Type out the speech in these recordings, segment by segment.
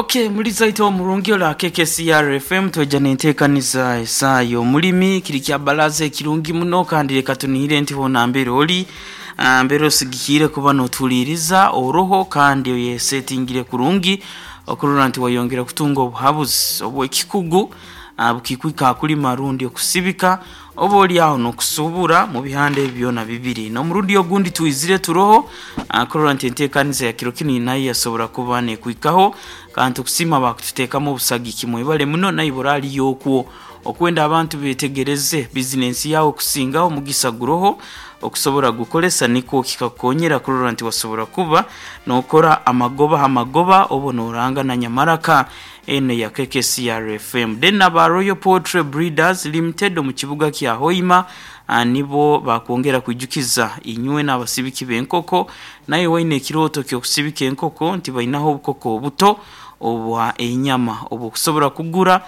Okay, muliza ite omurungi ola KKCR FM tweja nentekaniza esaa y'omulimi kiri kya balaza ekirungi muno kandi leka tunihire nti hona mbere oli mbere osigikire kuba notuliiriza oroho kandi oyesetingire kurungi okurora nti wayongera kutunga obuhabuzi obw'ekikugu bukikwika kulima rundi okusibika oba oli aho n'okusubura mu bihanda ebyo byona bibiri. N'omurundi ogundi twizire turoho kurora nti enteekaniza ya kiro kinu nayo yasobora kuba nekwikaho kandi tukusiima bakututeekamu obusagiki mwebale muno naibura aliyo okwo okwenda abantu betegereze bizinensi yawe kusingaho omugisa guroho okusobora gukolesa nikwo kikakukonyera kurora nti wasobora kuba nokora amagoba ha magoba obo noranga na nyamaraka eno ya KKCR FM. Then aba Royal Poultry Breeders Limited omu kibuga kya Hoima nibo bakwongera kwijukiza inywe n'abasibiki b'enkoko naye waine ekirooto ky'okusibika enkoko nti bainaho obukoko obuto obwa enyama obwokusobora kugura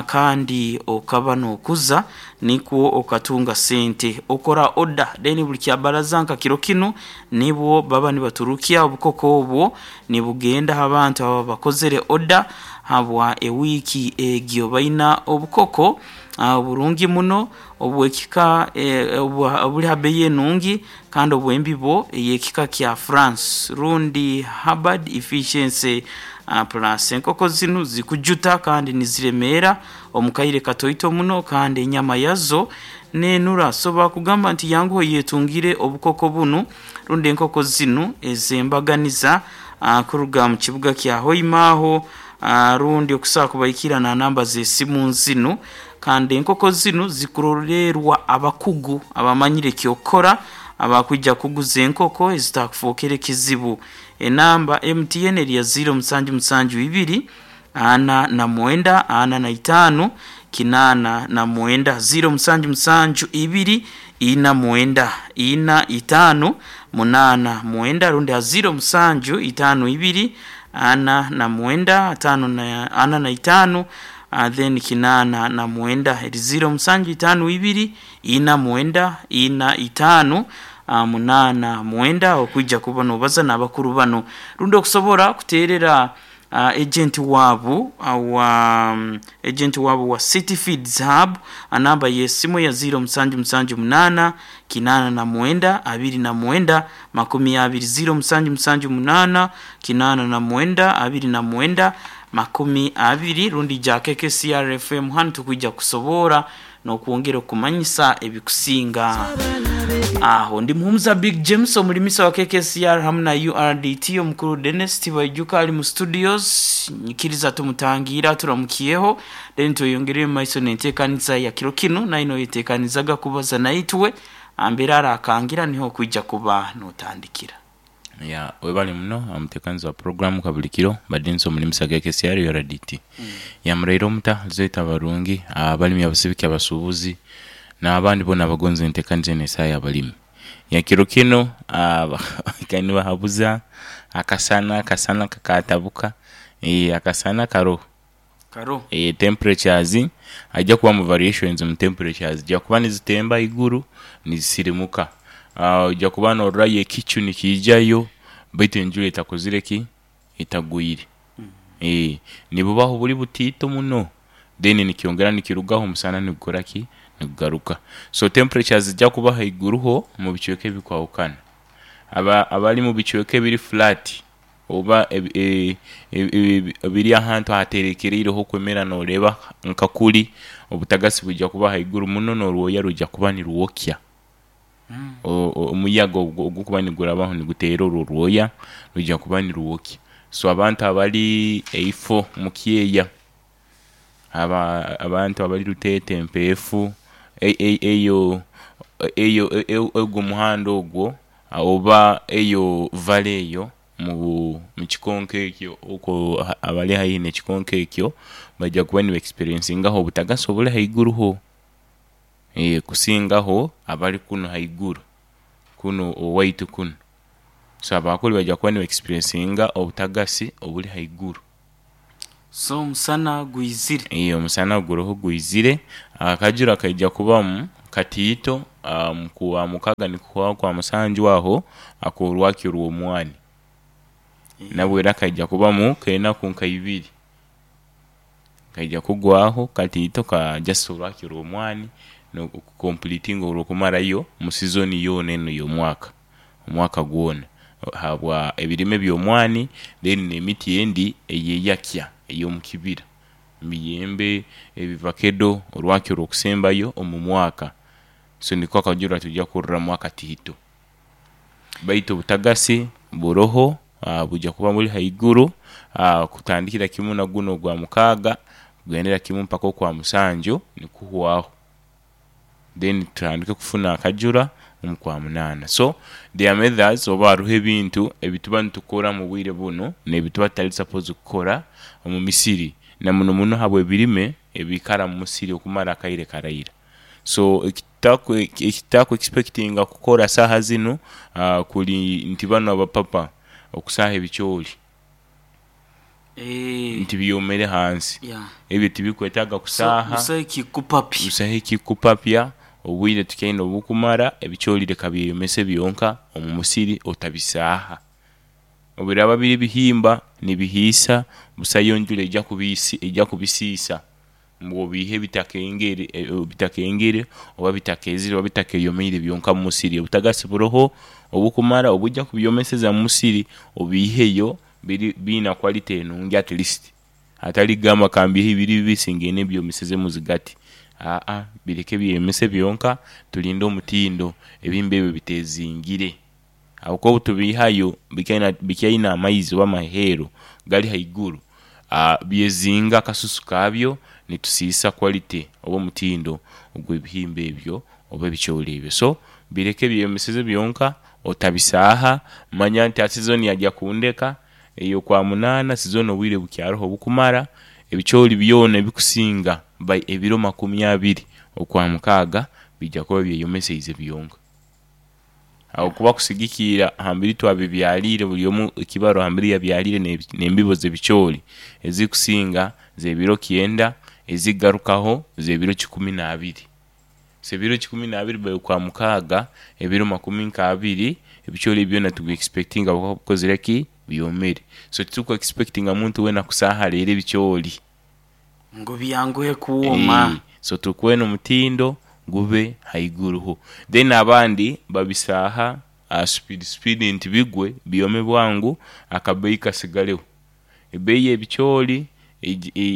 kandi okaba nokuza nikwo okatunga sente okora order then buli kyabaraza nka kiro kinu nibwo baba nibaturukya obukoko obwo nibugenda ha bantu aba bakozere order habwa ewiiki egyo baina obukoko oburungi muno obwekika obuli ha bei enungi kandi obw'embibo ey'ekika kya France rundi Hubbard Efficiency Plus. Enkoko zinu zikujuta kandi niziremeera omu kaire katoito muno kandi enyama yazo nenura. So bakugamba nti yanguha oyetungire obukoko bunu rundi enkoko zinu ez'embaganiza kuruga mu kibuga kya Hoima aho rundi okusobola kubaikira na namba z'esimu zinu kandi enkoko zinu zikurolerwa abakugu abamanyire eky'okukora abakwija kuguza enkoko ezitakufookere kizibu. Enamba MTN eri ya ziiro musanju musanju ibiri ana na mwenda ana na itaano kinaana na mwenda, ziiro musanju musanju ibiri ina mwenda ina itaano munaana mwenda rundi ha ziiro musanju itaano ibiri ana na mwenda ataano na ana na itaano then kinaana na mwenda eri ziiro musanju itaano ibiri ina mwenda ina itaano munaana mwenda okwija kuba nobaza n'abakuru bano rundi okusobora kuteerera agent waabu wa agent waabu wa City Feeds Hub anamba y'esimu ya ziiro musanju musanju munaana kinaana na mwenda abiri na mwenda makumi abiri ziiro musanju musanju munaana kinaana na mwenda abiri na mwenda makumi abiri rundi ja KKCR FM hanu tukwija kusobora n'okwongera okumanyisa ebikusinga aho. Ndi Muhumuza Big James omulimisa wa KKCR hamu na URDT omukuru Dennis Tibaijuka ali mu studios nyikiriza tumutangiire aturamukyeho then tweyongereyo mu maiso n'enteekaniza ya kiro kinu naye noyeteekanizaga kubaza naitwe ambere arakangira niho okwija kuba notandikira. Ya webale muno omutekanizi wa program kabuli kiro mbadde nsi omulimisa KKCR URDT. Ya muraire omuta zoita abarungi abalimi abasibiki abasuubuzi n'abandi boona abagonza entekaniza eno esaa y'abalimi. Ya kiro kinu nibahabuza akasana akasana kakatabuka akasana karoho. Karoho. Temperatures haija kubamu variations mu temperatures zija kuba nizitemba haiguru nizisirimuka. Oija kuba nororayo ekicu nikiijayo baitu enjura etakozire ki? Etagwire. Nibubaho buli butiito muno then nikyongera nikirugaho omusana nigukora ki? Nigugaruka. So temperatures zija kuba haiguruho omu bicweka ebikwahukana. Abali mu bicweka ebiri flat oba ebiri ahantu ahaterekereire ah'okwemera noreeba nka kuri obutagasi bwija kuba haiguru muno n'orwoya rwija kuba nirwokya. Omuyaga ogukuba nigurabaho niguteera orwo orwoya rwija kuba nirwokya. So abantu abali eifo mu kyeya, abantu abali Ruteete Mpeefu, eyo eyo ogwo omuhanda ogwo oba eyo valley eyo mu kikonko ekyo okwo abali haihi n'ekikonko ekyo baija kuba niba experiencingaho obutagasi obuli haiguruho kusingaho abali kunu haiguru kunu owaitu kunu. So abakuli baija kuba niba experiencinga obutagasi obuli haiguru. So omusana gwizire. Omusana guroho gwizire, akajura kaija kubamu katiito ku Kwamukaga nikuhwaho Kwamusanju aho ak'orwakyo orw'omwani. Nabwo era kaija kubamu k'enaku nka ibiri kaija kugwaho katiito ka just orwakyo rw'omwani nokukompuritinga orw'okumarayo mu sizoni yoona enu ey'omwaka, omwaka gwona habwa ebirime by'omwani then n'emiti endi eyeyakya ey'omukibira, emiyembe, ebivakedo orwakyo orw'okusembayo omu mwaka so niko akajura twija kuroramu akatiito. Baitu obutagasi buroho bwija kuba buli haiguru kutandikira kimu na gunu ogwa mukaaga kugendera kimu mpaka okwa musanju nikuhwaho then tutandike kufuna akajura omu kwa munaana. So there are methods oba haroho ebintu ebituba nitukora omu bwire bunu n'ebituba tutali supposed kukora omu misiri na muno muno habw'ebirime ebiikara omu musiri okumara akaire karaira. So ekitutaku expectinga kukora saaha zinu kuli nti banu abapapa okusaaha ebicooli nti byomere hansi, ebyo tibikwetaaga kusaaha, Busaho ekikupapya. Busaho ekikupapya, obwire tukyaine obukumara, ebicooli leka byeyomese byonka omu musiri otabisaaha. Obubiraaba biri bihimba nibihiisa, busayo njura eija kubisiisa ngu obiihe bitakengere oba bitakeezere oba bitakeyomeire byonka omu musiri. Obutagasi buroho obukumara obwija kubyomeseza omu musiri obiiheyo biina quality enungi at least hatali kugamba kambiiheyo biri bibisi ngende mbyomesezemu zigati aa bireke byeyomese byonka tulinde omutindo ebihimba ebyo biteezingire habwokuba obutubiihayo bikyaine amaizi oba amaheero gali haiguru byezinga akasusu kaabyo nitusiisa quality oba omutindo ogw'ebihimba ebyo oba ebicooli ebyo. So bireke byeyomeseze byonka otabisaaha manya nti hati sizoni yaija kundeka ey'okwa munaana sizoni obwire bukyaroho obukumara ebicooli byona ebikusinga by ebiro makumi abiri okwa mukaaga biija kuba byeyomeseize byonka. Aho kuba kusigikiira hambiri twabibyaliire buli omu ekibarua hambiri yabyaliire n'embibo z'ebicooli ezikusinga z'ebiro kyenda ezikugarukaho z'ebiro kikumi n'abiri. So ebiro kikumi n'abiri by okwa mukaaga ebiro makumi nk'abiri ebicooli ebyo byona tubi expectinga kuba bikozire ki? Byomere. So tituku expectinga muntu weena kusaaha leero ebicooli. Ngu byanguhe kuwoma. So tukwenda omutindo gube haiguruho. Then abandi babisaaha speed speed nti bigwe byome bwangu akabeeyi kasigaleho. Ebeeyi y'ebicooli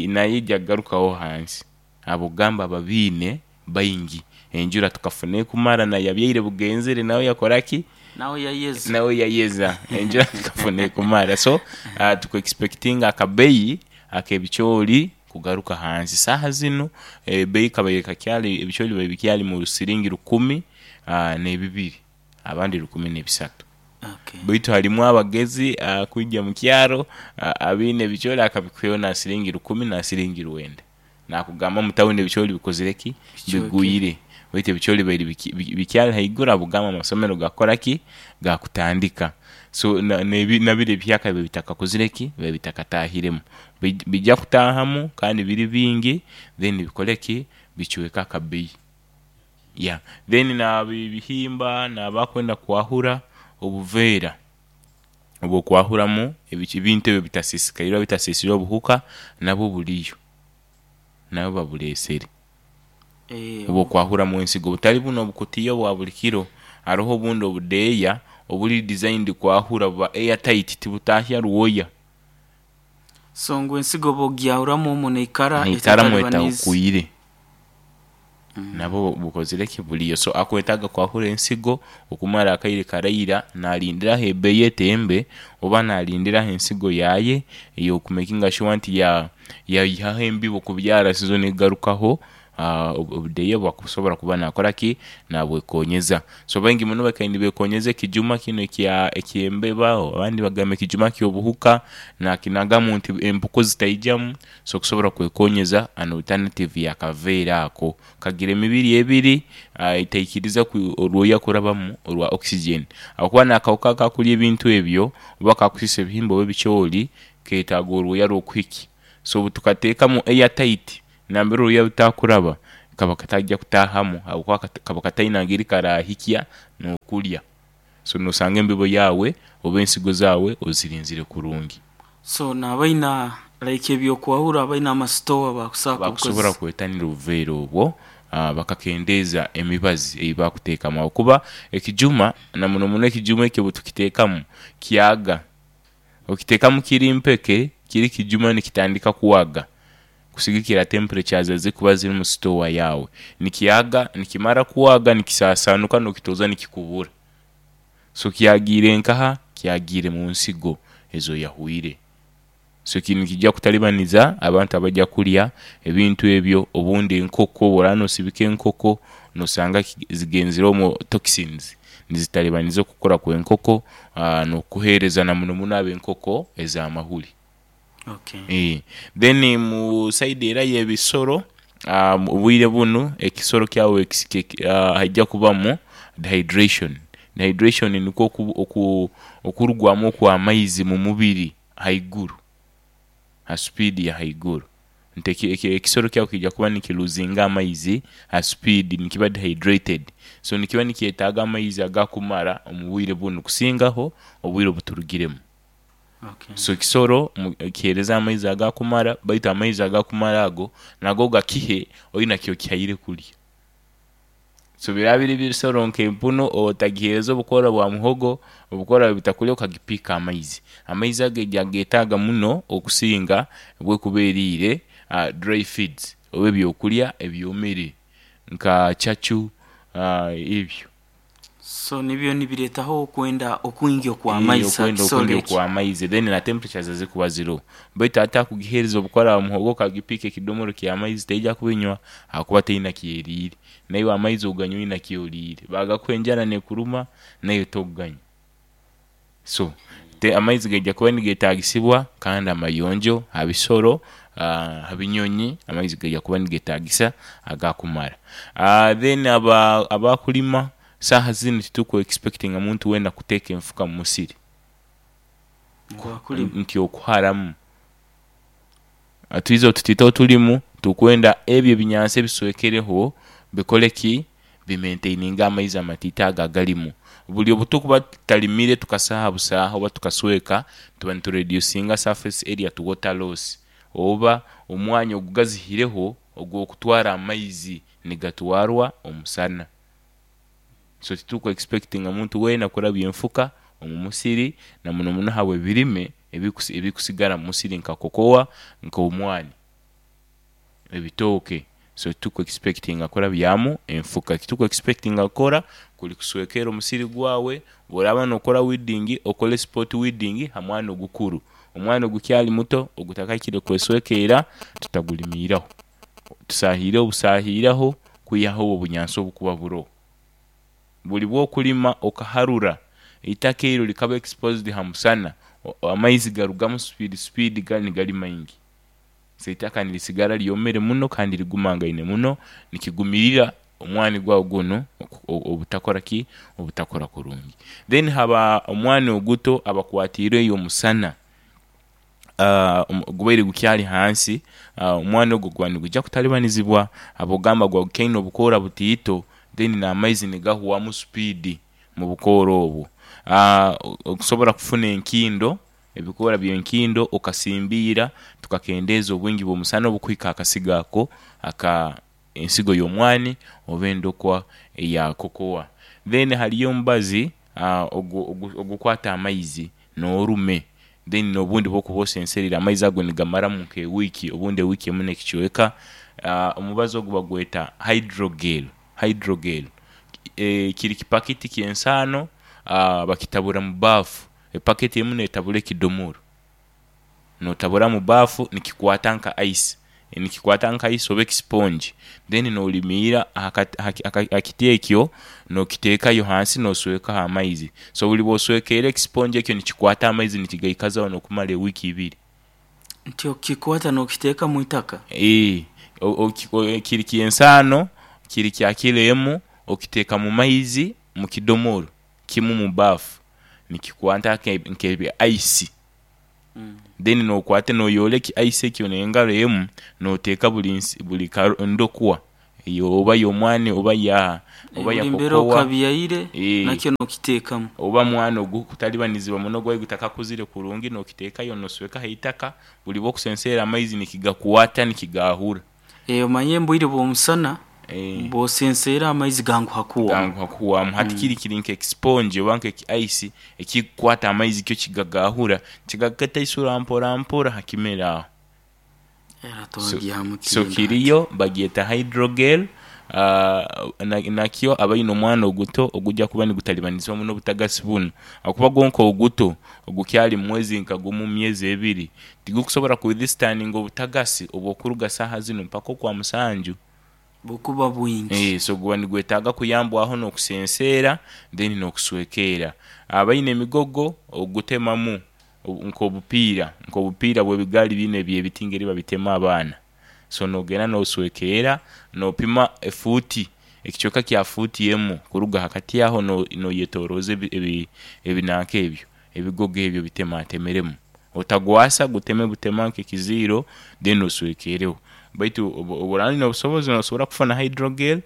nayo eija kugarukaho hansi habw'okugamba babiine baingi. Enjura tukafuna ekumara naye yabyaire bugenzere nawe yakora ki? Nawe yayeza. Nawe yayeza enjura tukafuna ekumara so tuku expectinga akabeeyi ak'ebicooli kugaruka hansi. Saaha zinu ebeeyi kabaire kakyali ebicooli bibaire bikyali mu siringi rukumi n'ebibiri abandi rukumi n'ebisatu. Baitu harimu abagezi kwija mu kyaro abaine ebicooli akabikwihayo na siringi rukumi na siringi rwenda. Naakugamba mu tawuni ebicooli bikozire ki? Bigwire. Baitu ebicooli bibaire bikyali haiguru habw'okugamba amasomero gaakukora ki? Gaakutandika. So na biri ebihyaka bibaire bitakakozire ki? Bibaire bitakataahiremu. Biija kutaahamu kandi biri bingi then bikole ki? Bicweke akabeeyi. Yeah then n'ab'ebihimba n'abakwenda kwahura obuveera obw'okwahuramu ebintu ebyo ebitasiisikaire oba bitasiisirwe obuhuka nabwo buliyo, nabwo babuleesere. Obw'okwahuramu ensigo butali bunu obukutiya obwa buli kiro, haroho obundi obudeeya obuli designed kwahura buba air tight tibutaahya rwoya. So ngu ensigo oba ogyahuramu omwo neikara Neikaramu etatalibaniize. etahukwire. Nabwo bukozire ki? Buliyo. So akwetaaga kwahura ensigo okumara akaire karaira nalindiraho ebeeyi etembe oba nalindiraho ensigo yaaye ey'okumekinga sure nti yaihaho embibo kubyara sizoni ekugarukaho obudeeya obu akusobora kuba naakora ki? Naabwekonyeza. So baingi muno bakaire nibekonyeza ekijuma kinu eky'embeba abandi bagamba ekijuma ky'obuhuka naakinagamu nti empuku zitaijamu so okusobora kwekonyeza an alternative y'akaveera ako. Kagira emibiri ebiri etaikiriza orwoya kurabamu orwa oxygen habwokuba n'akahuka akakurya ebintu ebyo oba akakusiisa ebihimba oba ebicooli keetaaga orwoya rw'okuhikya. So obutukateekamu air tight nambere orwoya rutakuraba kaba kataija kutaahamu habwokuba kaba kataine ngeri karaahikya n'okurya. So nosanga embibo yaawe oba ensigo zaawe ozirinzire kurungi. So n'abaina like ebyokwahura abaina amasitowa bakusobola Bakusobora kubukozesa. kwetanira obuveera obwo bakakendeeza emibazi eyibakuteekamu ahakuba ekijuma na muno muno ekijuma ekyo obutukiteekamu kyaga, okiteekamu kiri mpeke kiri kijuma nikitandika kwaga kusigikira temperatures ezikuba ziri omu sitowa yaawe nikyaga nikimara kwaga nikisasaanuka nokitooza nikikubura. So kyagiire nkaha? Kyagiire munsigo ezoyahwire. So kinu nikijja kutalibaniza abantu abajja kulya ebintu ebyo obundi enkoko bworaba nosibika enkoko nosanga zigenzire omwo toxins nizitalibaniza okukura kwenkoko nokuhereza na muno muno abo enkoko ezamahuri. Okay. Then mu saidi era eyebisoro, obwire bunu ekisoro kyawe haija kubamu dehydration. Dehydration nikwo okurugwamu okwamaizi omumubiri haiguru, ha supiidi yahaiguru nti ekisoro kyawe kija kuba nikiruzinga amaizi ha supiidi nikiba dehydrated so nikiba nikyetaaga amaizi agakumara omubwire bunu kusingaho obwire obuturugiremu. Okay. So ekisoro kihereze amaizi agakumara baitu amaizi agakumara ago nago gakihe oine kyokihaire kulya. So biraba biri bisoro nk'empunu otagihereza obukora bwa muhogo, obukora butakulya okagipiika amaizi. Amaizi ago eja kugetaaga muno okusinga bwekuba eriire dry feeds oba ebyokulya ebyomere nka cacu ebyo. So nibyo nibiretaho okwenda okwingi okwamaizi Okwenda hakisoro okwingi ekyo. okwamaizi then na temperatures ezikuba ziroho baitu ate akugihereza obukora bwa muhogo okagipiika ekidomoro kyamaizi teija kubinywa ahakuba teina kyeriire naiwe amaizi oganywa oina kyoriire bagakuha enjara nekuruma naiwe tokuganywa. So amaizi gaija kuba nigetagisibwa kandi amayonjo habisoro, habinyonyi amaizi gaija kuba nigetagisa agakumara. Then abakulima saaha zinu tituku expectinga muntu weena kuteeka enfuka mumusiri Abakulima. nti okuharamu. Twize tutite otulimu tukwenda ebyo ebinyansi ebiswekereho bikoleki? Bimaintaininge amaizi amatiito ago agalimu. Buli obutukuba tutalimire tukasaaha busaaha oba tukasweka tuba nituredusinga surface area to water loss oba omwanya ogugazihireho ogwokutwara amaizi nigatwarwa omusana. So tituku expectinga muntu weena kurabya enfuka omumusiri na muno muno ahabwebirime ebikusigara omumusiri nka kokowa, nkomwani, ebitooke so tituku expectinga kurabyamu enfuka. Ekituku expectinga kukora kuli kuswekera omusiri gwawe, bworaba nokora weeding okole spot weeding hamwani ogukuru, omwani ogukyali muto ogutakahikire kweswekera tutagulimiiraho, tusahireho busahiraho kwihaho obwo obunyansi obukuba buroho. Buli bwokulima okaharura eitaka eryo likaba exposed hamusana amaizi garugamu supiidi supiidi gali nigali maingi so eitaka nirisigara lyomere muno kandi ligumangaine muno nikigumirira omwani gwawe gunu obutakoraki? Obutakura kurungi. Then haba omwani oguto abakwatiirwe omusana gubaire gukyali hansi, omwani ogwo guba nigujja kutalibanizibwa habwokugamba guba gukyaine obukoora butiito then n'amaizi nigahwamu supiidi mubukoora obwo. Okusobola kufuna enkindo, ebikoora by'enkindo okasimbiira tukakendeeza obwingi bw'omusana obukuhika ahakasigo ako aka ensigo y'omwani oba endokwa eya kokowa. Then haliyo omubazi ogukwata amaizi n'orume then n'obundi bwokuba osensereire amaizi ago nigamaramu nk'ewiiki obundi ewiiki emu n'ekicweka. Omubazi ogwo bagweta hydrogel, hydrogel kiri kipakiti ky'ensaano bakitabura mu baafu, epaketi emu n'etabura ekidomolo. Notabura mu baafu nikikwata nka ice, nikikwata nka ice oba ekisipongi then nolimiira ahakiti ekyo nokiteekayo hansi noswekaho amaizi. So buli bwoswekeera ekisipongi ekyo nikikwata amaizi nikigaikazaho n'okumara ewiiki ibiri. Nti okikwata nokiteeka mwitaka? Kiri ky'ensaano, kiri kya kilo emu, okiteeka mu maizi mu kidomolo kimu mu baafu nikikwata nke ice then nokwata noyoola eki ice ekyo n'engaro emu noteeka buli ndokwa. Eyo oba y'omwani oba ya oba ya Buli mbere kokowa okabyaire Eh. nakyo nokiteekamu. Oba mwana ogukutalibanizibwa muno gwayi gutakakuzire kurungi, nokiteekayo noswekaho eitaka, buli bwokusenseera amaizi nikigakwata nikigahura. Omanye mbwire bw'omusana Eh. bw'osenseera amaizi ganguha kuwamu. Ganguha kuhwamu. Hati kiri kiri nk'ekisipongi oba nk'eki ice ekikukwata amaizi kyo kigagahura kigagataisura mpora mpora ha kimera aho. Era So, twagihamu so kindi hati. kiriyo bagyeta hydrogel, nakyo abaine omwana oguto ogujja kuba nigutalibanizibwa muno obutagasi bunu, akuba gwonka oguto ogukyali mumwezi nka gumu myezi ebiri tigukusobola kuwithstandinga obutagasi obwokuruga saaha zinu mpaka okwa musanju. Bukuba bwingi. So guba nigwetaaga kuyambwaho n'okusenseera then n'okuswekeera. Abaine emigogo ogutemamu nk'obupiira bw'ebigaali binu eby'ebiti engeri babitema abaana. So n'ogenda n'oswekeera n'opima efuuti ekicweka kya fuuti emu kuruga hakati aho noyetoroza ebinanka ebyo ebigogo ebyo obitematemeremu. Otagwasa guteme butema nk'ekiziiro then oswekeereho. Baitu obworaba oine obusobozi nosobora kufuna hydrogel,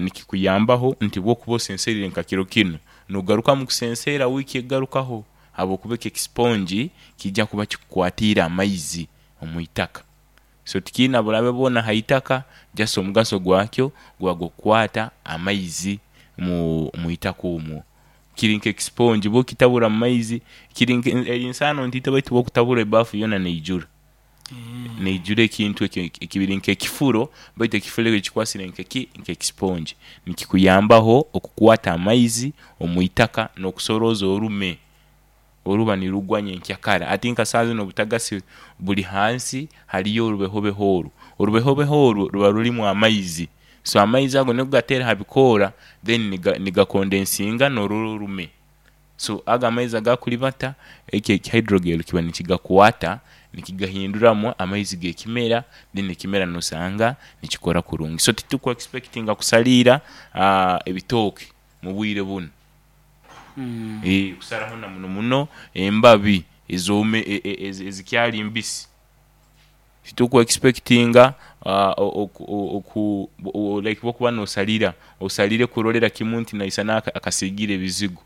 nikikuyambaho nti bwokuba osensereire nka kiro kinu nogarukamu kusenseera wiiki egarukaho habwokuba ekyo ekisipongi kiija kuba kikukwatiire amaizi omwitaka. So tikiina bulabe bwona haitaka just omugaso gwakyo guba gwakukwata amaizi mwitaka omwo. Kiri nk'ekisipongi bwokitabura mumaizi kiri nke eri nsaano ntiito baitu bwokutabura ebaafu yoona neijura. Neijura ekintu ekyo kiri nk'ekifuro baitu ekifuro ekyo kikwasire nkeki nk'ekisipongi nikikuyambaho okukwata amaizi omwitaka n'okusoroza orume oruba nirugwa nyenkyakara. Ati nka saaha zinu obutagasi buli hansi hariyo orubehobeho orwo, orubehobeho orwo ruba rurimu amaizi, so amaizi ago nigo gateera habikoora then nigakondensinga norora orume. So ago amaizi agakuribata ekyo eki hydrogel kiba nikigakwata nikigahinduramu amaizi g'ekimera then ekimera nosanga nikikora kurungi. So tituku expectinga kusaliira ebitooke mubwire bunu. Kusaraho na muno muno embabi ezikyali mbisi. Tituku expectinga like bwokuba nosalira, osalire kurolera kimu nti naisana akasigire ebizigo,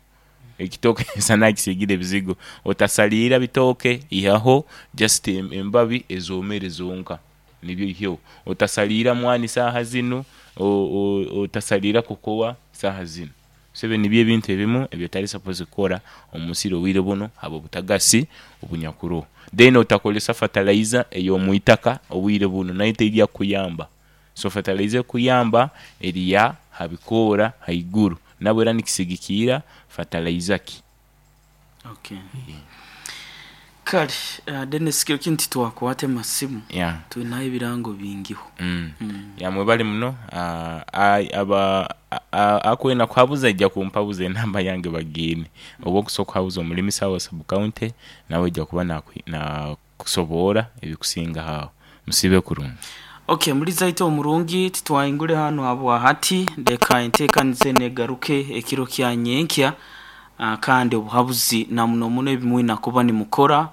ekitooke naisana akisigire ebizigo. Otasaliira bitooke ihaho just embabi ezomere zonka nibyo oiheho. Otasaliira mwani saaha zinu, otasaliira kokowa saaha zinu. So ebyo nibyo ebintu ebimu ebyotali supposed kukora omumusiri obwire bunu habw'obutagasi obunyakuroho. Then otakozesa fertilizer ey'omwitaka obwire bunu nayo teija kukuyamba. So fertilizer ekukuyamba eri ya habikoora haiguru nabwo era nikisigikiira fertilizer ki. Okay. Kale Denis kiro kinu titwakwate masimu Yeah. twinaho ebirango bingiho. Ya mwebale muno, akwenda kuhabuza aija kumpabuza enamba yange bagiine oba okusobola okuhabuza omulimisa wa sub county nawe aija kuba nakusoboora ebikusingaho aho. Musiibe kurungi. Okay, muliza itwe omurungi titwaingule hanu habwahati leka enteekaniza enu egaruke ekiro kya nyenkya, kandi obuhabuzi na muno muno ebimwina kuba nimukora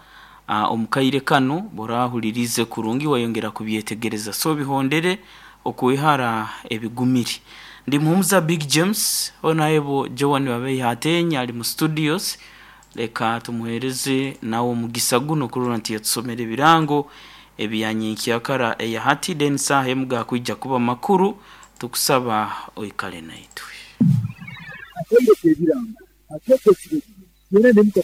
omukaire kanu borahuliriize kurungi wayongera kubyetegereza, so bihondere okwehara ebigumire. Ndi Muhumuza Big James onahebo Joan Babeiha Ateenyi ali mu studios, leka tumuheereze nawe omugisa guno kurora nti yatusomera ebirango ebya nyenkyakara eya hati, then saaha emu gakwija kuba makuru, tukusaba oikale naitwe. Akaire k'ebirango akeekyo ekiro kino, twena ne muka